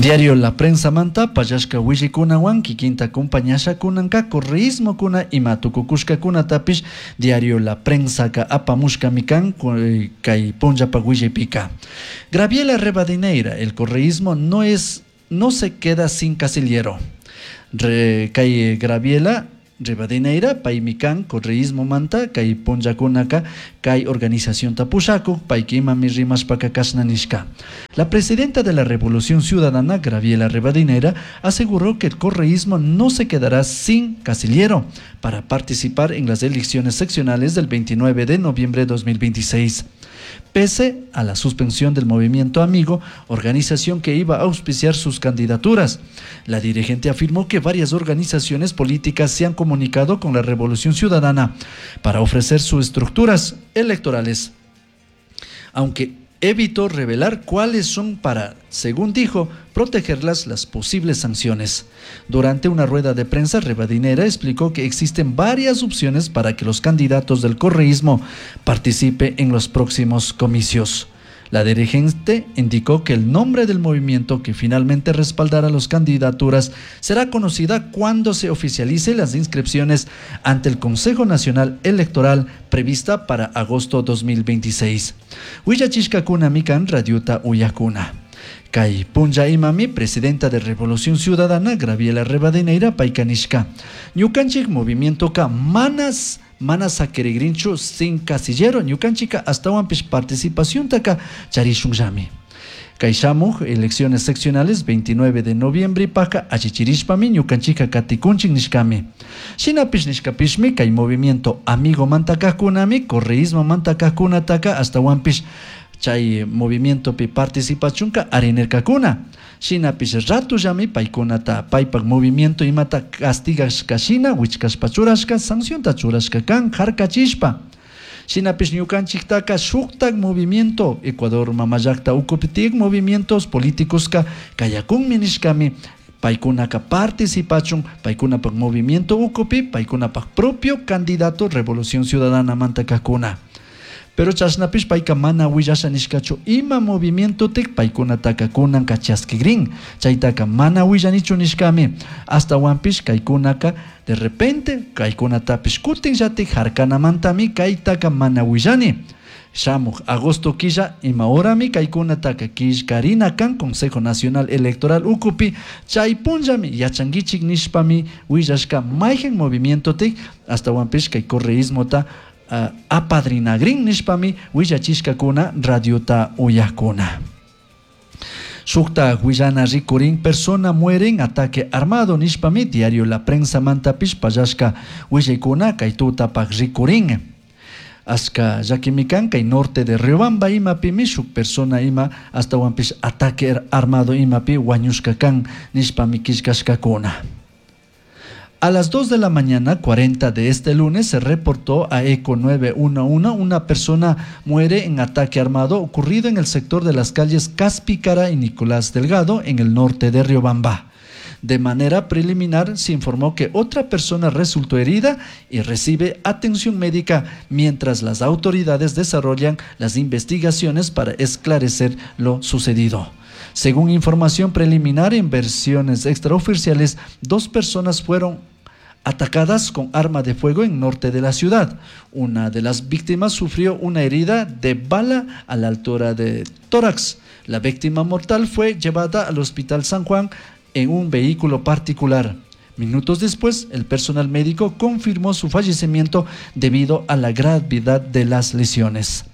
Diario La Prensa manta pallashka willikunawan kikinta compañasha kunanka correísmokuna ima tukukushkakunatapish Diario La Prensaka apamushkami kan kay punllapak willaypika. Graviela Rivadeneira, el correísmo no se queda sin casillero. Kay Graviela Rivadeneira paymi kan correísmo manta kay punllakunaka kay organización pushakuk payka imami rimashpaka kashna nishka. La presidenta de la Revolución Ciudadana, Graviela Rivadeneira, aseguró que el correísmo no se quedará sin casillero para participar en las elecciones seccionales del 29 de noviembre de 2026. Pese a la suspensión del Movimiento Amigo, organización que iba a auspiciar sus candidaturas. La dirigente afirmó que varias organizaciones políticas se han comunicado con la Revolución Ciudadana para ofrecer sus estructuras electorales, aunque evitó revelar cuáles son para, según dijo, protegerlas las posibles sanciones. Durante una rueda de prensa, Rivadeneira explicó que existen varias opciones para que los candidatos del correísmo participen en los próximos comicios. La dirigente indicó que el nombre del movimiento que finalmente respaldará las candidaturas será conocida cuando se oficialice las inscripciones ante el Consejo Nacional Electoral prevista para agosto 2026. Willachishkakuna mikan radiota uyakuna. Kay punlla imami, presidenta de Revolución Ciudadana, Graviela Rivadeneira, payka nishka. Ñukanchik movimiento ka mana saquirigrinchu sin casillero, ñukanchika astawanpish participación taka charishunllami. Kay shamuj elecciones seccionales 29 de noviembre paka allichirishpami ñukanchika katikunchik nishkami. Shinapish nishkapishmi kay movimiento Amigo mantakajkunami, correísmo mantakajkunataka astawanpish chay movimientopi participachunka arinirkakuna. Shinapish ratullami paykunata paypak movimiento imata castigashka shina wichkashpa churashka sancionta churashka kan harkachishpa. Shinapish ñukanchiktaka shuktak movimiento Ecuador mamallakta ukupi tiyak movimientos políticos kayakunmi nishkami paykunaka participachun paykunapak movimiento ukupi paykunapak propio candidato Revolución Ciudadana mantakakuna. Pero chashnapish payka mana willasha nishkachu ima movimiento tik paykunataka kunanka chaskigrin chaytaka mana willanichu nishkami astawanpish kaykunaka de repente kaykunatapish kutinllatik harkanamantami kaytaka mana willani. Shamuj agosto killa ima horami kaykunataka killkarina kan Consejo Nacional Electoral ukupi chay punllami yachankichik nishpami willashka mayhan movimiento tik astawanpish kay correísmota apadrinagrin nishpami willachishkakuna radiota uyakuna. Shukta willana rikurin persona muere en ataque armado nishpami diario La Prensa mantapish pallashka willaykuna kay tutapak rikurin. Ashka llakimikan kay norte de Riobamba imapimi shuk persona ima astawanpish ataque armado imapi wañushka kan nishpami killkashkakuna. A las 2 de la mañana 40 de este lunes se reportó a Eco 911 una persona muere en ataque armado ocurrido en el sector de las calles Caspicara y Nicolás Delgado en el norte de Riobamba. De manera preliminar se informó que otra persona resultó herida y recibe atención médica mientras las autoridades desarrollan las investigaciones para esclarecer lo sucedido. Según información preliminar en versiones extraoficiales, 2 personas fueron atacadas con arma de fuego en norte de la ciudad. Una de las víctimas sufrió una herida de bala a la altura de tórax. La víctima mortal fue llevada al Hospital San Juan en un vehículo particular. Minutos después, el personal médico confirmó su fallecimiento debido a la gravedad de las lesiones.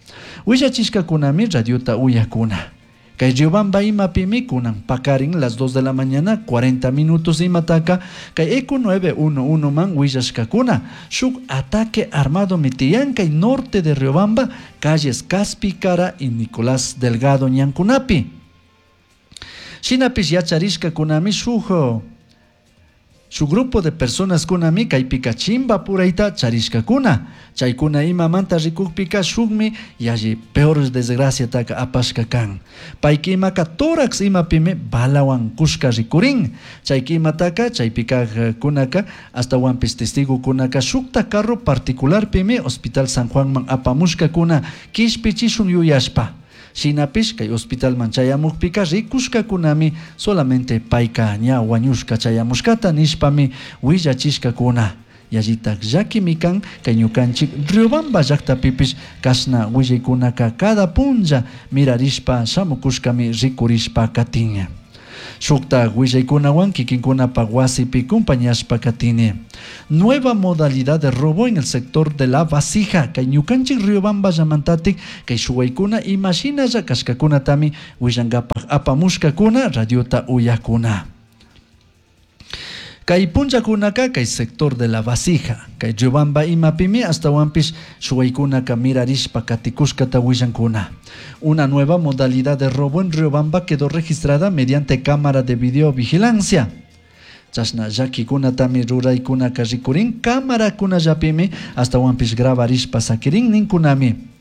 Willachishkakunami radiota uyakuna. Kay Riobamba imapimi kunan pakarin las 2 de la mañana 40 minutos imataka kay Eco 911 man willashkakuna shuk ataque armado mitiyan kay norte de Riobamba calles Caspicara y Nicolás Delgado ñankunapi. Shinapish yacharishkakunami shuk grupo de personas kunami kaypika chimba purayta charishkakuna chaykuna imamanta rikukpika shukmi yalli peor desgracia taka apashka kan payka imaka tórax imapimi balawan kushka rikurin chayka imataka chaypika kunaka astawanpish testigo kunaka shukta carro particularpimi Hospital San Juanman apamushkakuna kishpichishun yuyashpa. Shinapish kay hospitalman chayamukpika rikushkakunami solamente payka ña wañushka chayamushkata nishpami willachishkakuna. Yallitak llakimi kan kay ñukanchik Riobamba llaktapipish kashna willaykunaka cada punlla mirarishpa shamukushkami rikurishpa katin. Shuktak willaykunawan kikinkunapak wasipi compañashpa katini. Nueva modalidad de robo en el sector de la vasija. Kay ñukanchik Riobamba llamantatik kay shuwaykuna imashinalla kashkakunatami willankapak apamushkakuna radiota uyakuna. Kay punllakunaka kay sector de la vasija, kay Riobamba imapimi astawanpish shuwaykunaka mirarishpa katikushkata willankuna. Una nueva modalidad de robo en Riobamba quedó registrada mediante cámara de videovigilancia. Chashna llakikunatami ruraykunaka rikurin cámarakunallapimi astawanpish grabarishpa sakirin ninkunami.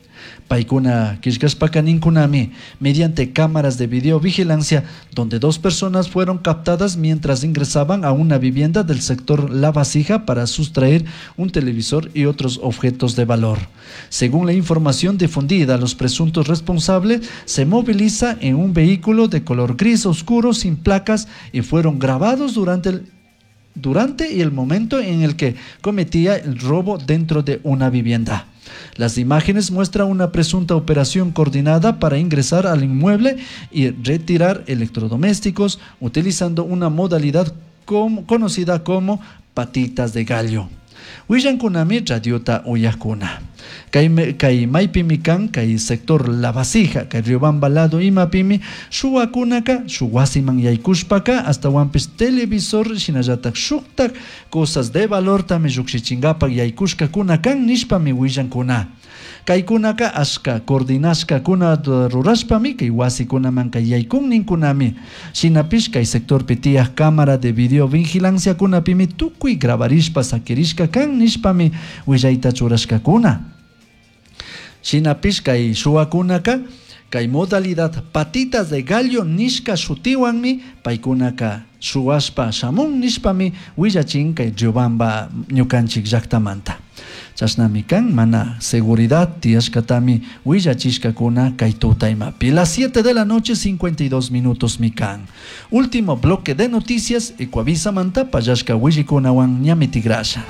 Paykuna killkashpaka ninkunami mediante cámaras de videovigilancia donde dos personas fueron captadas mientras ingresaban a una vivienda del sector La Vasija para sustraer un televisor y otros objetos de valor. Según la información difundida, los presuntos responsables se movilizan en un vehículo de color gris oscuro sin placas y fueron grabados durante y el momento en el que cometía el robo dentro de una vivienda. Las imágenes muestran una presunta operación coordinada para ingresar al inmueble y retirar electrodomésticos utilizando una modalidad conocida como patitas de gallo. Willankunami radiota uyakuna. Kay maypimi kan kay sector La Vasija, kay Riobamba lado imapimi shuwakunaka shuk wasiman yaykushpaka astawanpish televisor shinallatak shuktak cosas de valortami llukshichinkapak yaykushkakuna kan nishpami willankuna. Kaykunaka ashka coordinashkakuna rurashpami kay wasikunamanka yaykun ninkunami. Shinapish kay sectorpi tiyaj cámara de videovigilanciakunapimi tukuy grabarishpa sakirishka kan nishpami willayta churashkakuna. Shinapish kay shuwakunaka kay modalidad patitas de gallo nishka shutiwanmi paykunaka shuwashpa shamun nishpami willachin kay Riobamba ñukanchik llaktamanta. Chashnami kan mana seguridad tiyashkatami willachishkakuna kay tuta imapi. Las 7 de la noche 52 minutos mi kan. Último bloque de noticias Ecuavisa manta pallashka willikunawan ñami tigrasha.